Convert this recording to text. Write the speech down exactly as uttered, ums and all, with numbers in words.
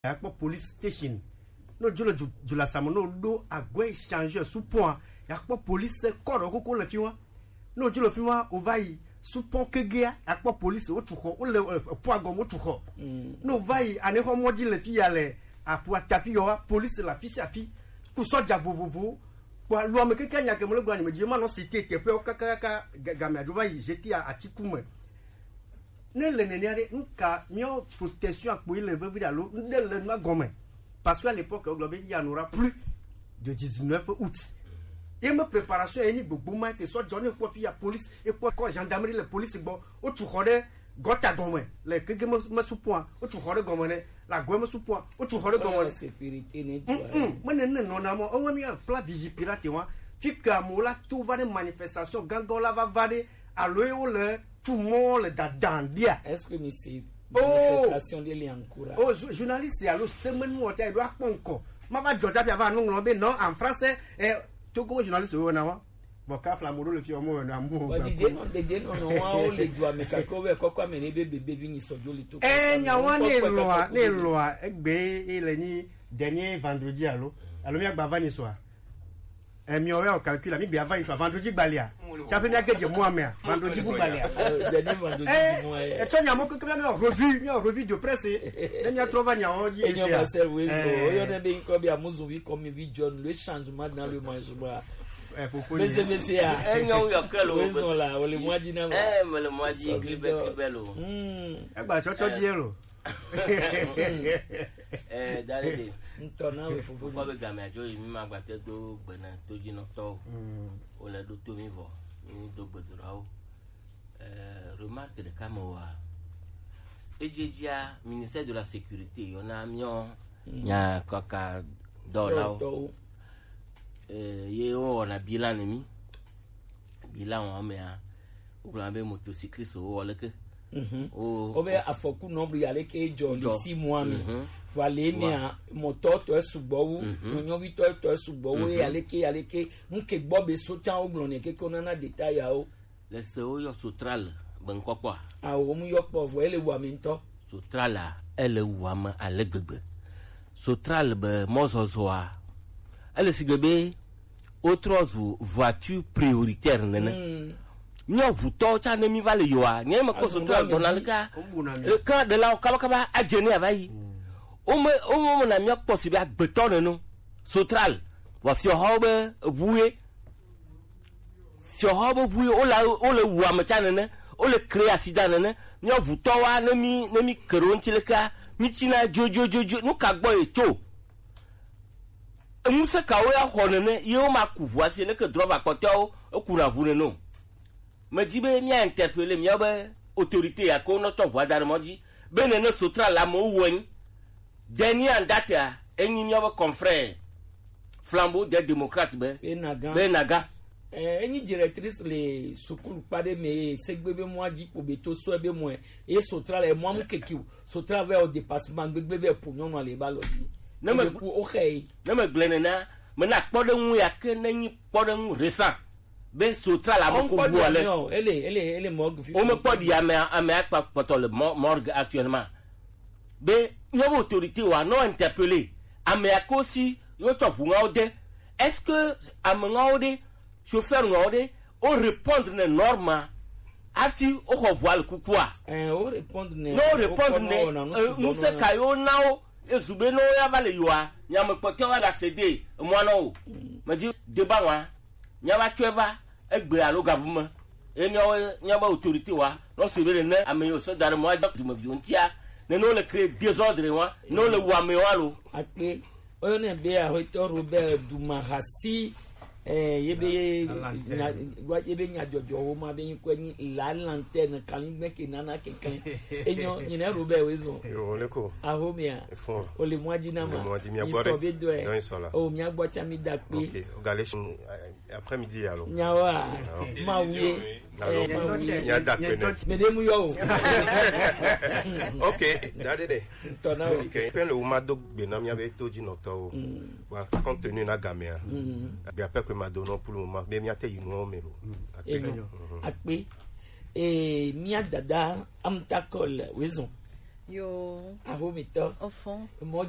Akpɔ police station. No jolo ju-, jula samo no do agwe échangeur sous pont. Akpɔ police kɔrɔ koko le fiwa. No jolo fiwa o va yi sous pont kegea. Akpɔ police o tu xɔ, o le, eh, pont agɔm o tu xɔ. No va yi ane xɔ mɔdzi le fi ya le apu atafi yɔ wa, police la fi sia fi. Ku sɔdza vovovo. Kpɔ lo ame keke nya ke mo le gblɔ anyi me dzi, ma nɔ cité teƒewo kakakaka ga-, game adzo va yi jeté a atiku me. Ne le nenea ɖe, nuka míawo protection akpo yi le vevi ɖe alo nuɖe le nua gɔme? Parce que à l'époque, wogblɔ be il y en aura plus de dix-neuf août. Ye me préparation ye nyi gbogbo ma te sɔ dzɔ ne kpɔ fi ya police, e kpɔ kɔ gendarmerie le police gbɔ, o tu xɔ ɖe gɔta gɔme le kege me, me supoa, o tu xɔ ɖe gɔme ne, la gɔme me supoa, o tu xɔ ɖe gɔme ne. Sécurité ne tu. Mm, mm, me ne ne nɔ na mo, o mi plan vigipirate wa, fi ke amewo la to va ɖe manifestation gãgã la va va ɖe, alo ye wo le tu mɔ le dadan dia. Est-ce que mi se Oh. Manifestation de li en cours? Oh, jou-, journaliste alo semaine mo ta do akpɔ nkɔ. Ma va jɔja bia va nu ŋlɔ be non en français, eh, to ko journaliste wo na wa. Bon, ka flambo le fi o mo na mo. Bon, Didier non, Didier non, non, wa o le du ame ka ko be kɔkɔ ame ne be bebe vi ni sɔ jo le to. Eh, nya wa ne lɔa, ne lɔa, egbe e le ni dernier vendredi alo. Alo mi agba va ni soa. Eh, mi o calcul, mi be va ni soa vendredi gbalia. Cha pe mi agedje mo amea, vendredi bu gbalia. Eh, etsɔ nya mo keke mi o revue, mi o revue de presse. Ne mi atrɔ va nya o di. Enyo ese a. Pasteur Wezo, eh, oyo ne be nko bi amuzu vi comme vi John, le changement dans le management. Eh, fofo ni. Mese, mese ya. Eh, nyo yo kelo. Wezo la, o le mwa di na ma. Eh, me le mwa di, so, clip, clip lo. Hmm. Egba tsɔtsɔ di lo. Eh, Dalede. Ŋutɔ na we fofo. Kpɔ be game adzo yi mi ma gbate do gbena to dzi nɔtɔwo. Mm. Wo le ɖo to mi vɔ. Mi do gbedoɖawo. Eh, remarque ɖeka me wa. Edziedzia, ministère de la sécurité yɔna miɔ nya kaka dɔlawo. Dɔlawo. Eh, ye wo wɔna bilan ne mi. Bilan wa mea, wogblɔna be motocycliste wo wɔ leke. Mhm. Wo, wobe afɔku nɔbli aleke dzɔ le six mois me. Mhm. Vɔ le mea, mɔtɔ tɔ sugbɔ wu, nyɔnyɔvi tɔ tɔ sugbɔ wu, aleke, aleke, nuke gbɔ be so can wogblɔ ne keke wonana détail yawo. Le se wo yɔ Sotral be ŋkɔkpɔa? Awo, mu yɔ kpɔ vɔ, ele wu ame ŋutɔ. Sotral a, ele wu ame ale gbegbe. Sotral be mɔzɔzɔa, ele sigbe be wotrɔ zu voiture prioritaire nene. Mm. Míawo ʋutɔwo tsã ne mí va le yoa, nye me kpɔ Sotral gbɔna le ka, le ka ɖelawo kabakaba adze ne ava yi. Wome, wome na míakpɔ si be agbetɔ nene o. Sotral, vɔ fiɔhawo be eʋu ye. Fiɔhawo be ʋu ye, wole, wole wu ame tsã nene, wole kre asi da nene. Míawo ʋutɔwoa, ne mí, ne mí ke ɖe wo ŋuti lekea, mí tsina dzodzodzodzo. Nu ka gbɔ ye tso? Ŋusẽ kawo ya xɔ nene ye woma ku ʋua si leke drɔba kpɔtɔewo ekuna ʋu nene o? Medi be mía interpeller míabe autorité ya ke wonɔ tsɔ ʋua da ɖe mɔ dzi be nene Sotral amewo wɔe nyi. Dernier en date a, enyi míabe confrère Flambeau des Démocrates be, be Naga. Eh, enyi directrice le sukulu kpa ɖe me, segbe be mɔa dzi kpo be to sɔe be mɔe, ye Sotral le mɔa mu keke o. Sotral vɛ o dépassement gbegbe vɛ po nyɔnua le ba lɔ dzi. Ne me ku o xe yi. Ne me gblẽ nena, me na kpɔɖeŋu ya ke ne nyi kpɔɖeŋu récent. Be Sotral ame ko wu le. Ele, ele, ele mɔ fifi. Wome kpɔ ɖi ame, ame akpa kpɔtɔ le mɔ-, morgue actuellement. Be míabe autorité wa nɔ interpeller. Ame ya ko si yo tsɔ ʋu ŋawo de. Est-ce que ame ŋawo ɖe, chauffeur ŋawo ɖe, o répondre ne norme hafi o xɔ ʋua le kukua? Eh, o répondre ne. Ne o répondre ne, eh, ŋusẽ ka yo na wo, ezu be ne wo ya va le yoa, nya me kpɔtɔ wa ga se de, emɔa na wo. Medi débat wa. Míava tsɔe va egbe alo gabu me. Ye míawo, míabe autorité wa, nɔ se be ne ame yiwo sɔ da ɖe mɔ adze dumeviwo ŋutia, ne, ne wole créer désordre wa, ne wole wu amewo alo. Akpe, woyɔnɛ be Aƒetɔ Robert Dumahasi, eh, ye be nya, ye be nyadzɔdzɔwo ma be ŋkɔe nyi La Lanterne, kanligbe ke nana keklẽ. Enyo, nyina Robert woezɔ. Yo, le ko. Ahomia. Efo. Ole mɔa dzi na ma. Ole mɔa dzi, mia gbɔ ɖe. Sɔ be dɔe. Dɔe sɔ la. O, mia gbɔ tsa mi da kpe. Ok, o ga le shi, eh, après-midi alors. Nyawa. Ah, ok. Ma wuye. Alors, eh, ma wuye. Mia da kpe ne. Me de mu yo. Ok, da de de. Tɔna o. Ok. Pe le wo ma do gbe na mia be to dzi nɔtɔwo. Mm. Wa compte tenu na gamea. Mm. Gbe ape ko ma do no pour le moment. Be mia te yi no me lo. Mm. Akpe. Enyo. Mhm. Akpe. Eh, mia dada amtakol wezon. Yo. Ahomitɔ. Ofo. Mɔdzi